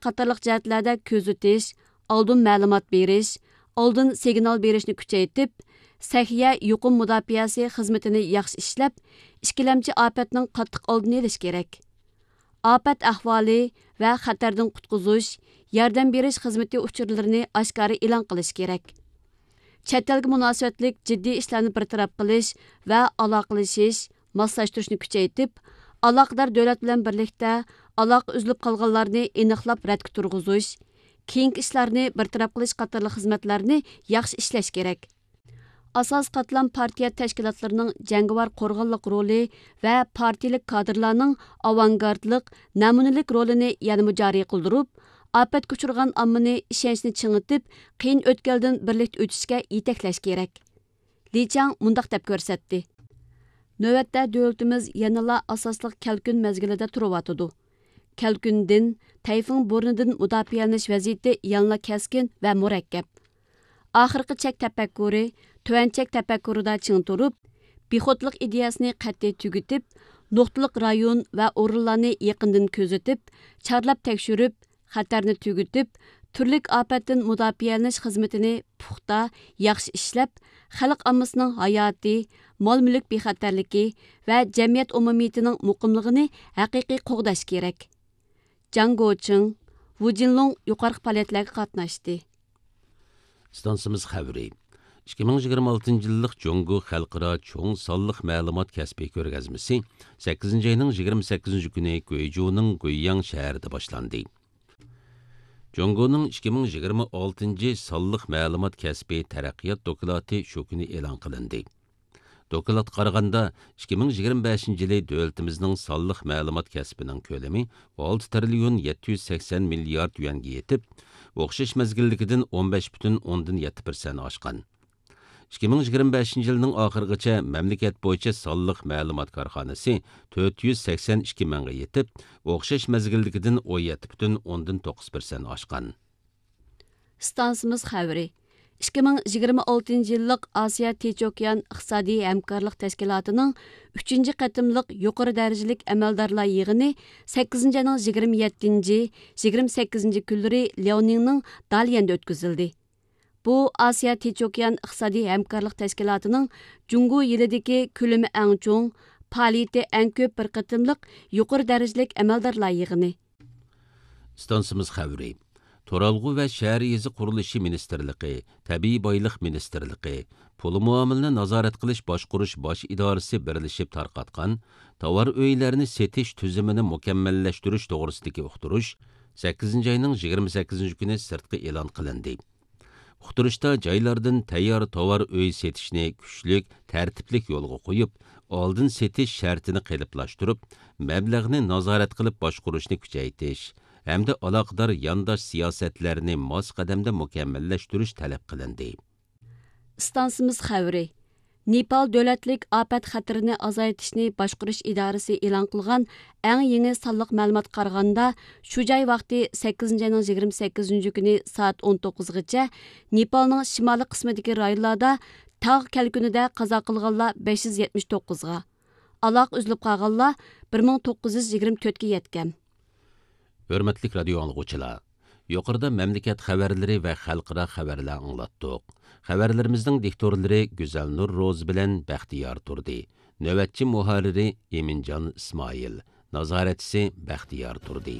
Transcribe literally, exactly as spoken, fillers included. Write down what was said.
قاتارلىق جەھەتلەردە كۆزىتىش، ئالدىن مەلۇمات بېرىش، ئالدىن سىگنال بېرىشنى كۈچەيتىپ، سەھىيە يۇقۇم مۇداپىئەسى خىزمىتىنى ياخشى ئىشلەپ، ئىككىلەمچى ئاپەتنىڭ قاتتىق ئالدىنى ئېلىش كېرەك. ئاپەت ئەھۋالى ۋە خەتەردىن قۇتقۇزۇش، ياردەم بېرىش خىزمىتى ئۇچۇرلىرىنى ئاشكارا ئېلان قىلىش كېرەك. چەت ئەلگە مۇناسىۋەتلىك جىددىي ئىشلارنى بىر تەرەپ قىلىش ۋە ئالاقىلىشىش، ماسلاشتۇرۇشنى كۈچەيتىپ، ئالاقىدار دۆلەت بىلەن بىرلىكتە ئالاقە ئۈزۈلۈپ قالغانلارنى ئېنىقلاپ رەتكە تۇرغۇزۇش، كېيىنكى ئىشلارنى بىر تەرەپ قىلىش قاتارلىق خىزمەتلەرنى ياخشى ئىشلەش كېرەك. ئاساسىي قاتلام پارتىيە تەشكىلاتلىرىنىڭ جەڭگىۋار قورغانلىق رولى ۋە پارتىيىلىك كادىرلارنىڭ ئاۋانگارتلىق، نەمۇنىلىك رولىنى يەنىمۇ جارى قىلدۇرۇپ، ئاپەتكە ئۇچرىغان ئاممىنى ئىشەنچنى چىڭىتىپ، قىيىن ئۆتكەلدىن بىرلىكتە ئۆتۈشكە يېتەكلەش كېرەك. لى چاڭ مۇنداق دەپ كۆرسەتتى: نۆۋەتتە دۆلىتىمىز يەنىلا ئاساسلىق كەلكۈن مەزگىلىدە تۇرۇۋاتىدۇ. كەلكۈندىن، تەيفۇڭ بورىنىدىن مۇداپىئەلىنىش ۋەزىيىتى يەنىلا كەسكىن ۋە مۇرەككەپ. ئاخىرقى چەك تەپەككۇرى، تۆۋەن چەك تەپەككۇرىدا چىڭ تۇرۇپ، بىخۇدلۇق ئىدىيەسىنى قەتئىي تۈگىتىپ، نۇقتىلىق رايون ۋە ئورۇنلارنى يېقىندىن كۆزىتىپ، چارلاپ تەكشۈرۈپ، خەتەرنى تۈگىتىپ، تۈرلۈك ئاپەتتىن مۇداپىئەلىنىش خىزمىتىنى پۇختا، ياخشى ئىشلەپ، خەلق ئاممىسىنىڭ ھاياتى، مال-مۈلۈك بىخەتەرلىكى ۋە جەمئىيەت ئومۇمىيىتىنىڭ مۇقىملىقىنى ھەقىقىي قوغداش كېرەك. جاڭ گوچىڭ، ۋۇ جىنلۇڭ يۇقىرىقى پائالىيەتلەرگە قاتناشتى. ئىستانسىمىز خەۋىرى. ئىككى مىڭ يىگىرمە ئالتىنچى يىللىق جۇڭگو خەلقئارا چوڭ سانلىق مەلۇمات كەسپى كۆرگەزمىسى سەككىزىنچى ئاينىڭ يىگىرمە سەككىزىنچى كۈنى گۇيجۇنىڭ گۇيياڭ شەھىرىدە باشلاندى. جۇڭگونىڭ ئىككى مىڭ يىگىرمە ئالتىنچى سانلىق مەلۇمات كەسپى تەرەققىيات دوكلاتى شۇ كۈنى ئېلان قىلىندى. دوكلاتقا قارىغاندا، ئىككى مىڭ يىگىرمە بەشىنچى يىلى دۆلىتىمىزنىڭ سانلىق مەلۇمات كەسپىنىڭ كۆلىمى ئالتە تىرىليون يەتتە يۈز سەكسەن مىليارد يۈەنگە يېتىپ، ئوخشاش مەزگىلدىكىدىن ئون بەش پۈتۈن ئوندىن يەتتە پىرسەنت ئاشقان. ئىككى مىڭ يىگىرمە بەشىنچى يىلنىڭ ئاخىرىغىچە مەملىكەت بويىچە سانلىق مەلۇمات كارخانىسى تۆت يۈز سەكسەن ئىككى مىڭغا يېتىپ، ئوخشاش مەزگىلدىكىدىن ئون يەتتە پۈتۈن ئوندىن توققۇز پىرسەنت ئاشقان. ئىستانسىمىز خەۋىرى. ئىككى مىڭ يىگىرمە ئالتىنچى يىللىق ئاسىيا تىنچ ئوكيان ئىقتىسادىي ھەمكارلىق تەشكىلاتىنىڭ ئۈچىنچى قېتىملىق يۇقىرى دەرىجىلىك ئەمەلدارلار يىغىنى سەككىزىنچى ئاينىڭ يىگىرمە يەتتىنچى، يىگىرمە سەككىزىنچى كۈنلىرى لياۋنىڭنىڭ داليەندە ئۆتكۈزۈلدى. بۇ ئاسىيا تىنچ ئوكيان ئىقتىسادىي ھەمكارلىق تەشكىلاتىنىڭ جۇڭگو يىلىدىكى كۆلىمى ئەڭ چوڭ، پائالىيىتى ئەڭ كۆپ بىر قېتىملىق يۇقىرى دەرىجىلىك ئەمەلدارلار يىغىنى. ئىستانسىمىز خەۋىرى. تۇرالغۇ ۋە شەھەر يېزا قۇرۇلۇشى مىنىستىرلىقى، تەبىئىي بايلىق مىنىستىرلىقى، پۇل مۇئامىلىنى نازارەت قىلىش باشقۇرۇش باش ئىدارىسى بىرلىشىپ تارقاتقان تاۋار ئۆيلەرنى سېتىش تۈزۈمىنى مۇكەممەللەشتۈرۈش توغرىسىدىكى ئۇقتۇرۇش سەككىزىنچى ئاينىڭ يىگىرمە سەككىزىنچى كۈنى سىرتقا ئېلان قىلىندى. ئۇقتۇرۇشتا جايلاردىن تەييار تاۋار ئۆي سېتىشنى كۈچلۈك، تەرتىپلىك يولغا قويۇپ، ئالدىن سېتىش شەرتىنى قېلىپلاشتۇرۇپ، مەبلەغنى نازارەت قىلىپ باشقۇرۇشنى كۈچەيتىش ھەمدە ئالاقىدار يانداش سىياسەتلەرنى ماس قەدەمدە مۇكەممەللەشتۈرۈش تەلەپ قىلىندى. ئىستانسىمىز خەۋىرى. نېپال دۆلەتلىك ئاپەت خەتىرىنى ئازايتىشنى باشقۇرۇش ئىدارىسى ئېلان قىلغان ئەڭ يېڭى سانلىق مەلۇماتقا قارىغاندا، شۇ جاي ۋاقتى سەككىزىنچى ئاينىڭ يىگىرمە سەككىزىنچى كۈنى سائەت ئون توققۇزغىچە نېپالنىڭ شىمالىي قىسمىدىكى رايونلاردا تاغ كەلكۈنىدە قازا قىلغانلار بەش يۈز يەتمىش توققۇزغا، ئالاقە ئۈزۈلۈپ قالغانلار بىر مىڭ توققۇز يۈز يىگىرمە تۆتكە يەتكەن. ھۆرمەتلىك رادىيو ئاڭلىغۇچىلار، يۇقىرىدا مەملىكەت خەۋەرلىرى ۋە خەلقئارا خەۋەرلەر ئاڭلاتتۇق. خەۋەرلىرىمىزنىڭ دىكتورلىرى گۈزەلنۇر روزى بىلەن بەختىيار تۇردى. نۆۋەتچى مۇھەررىرى ئىمىنجان ئىسمائىل. نازارەتچىسى بەختىيار تۇردى.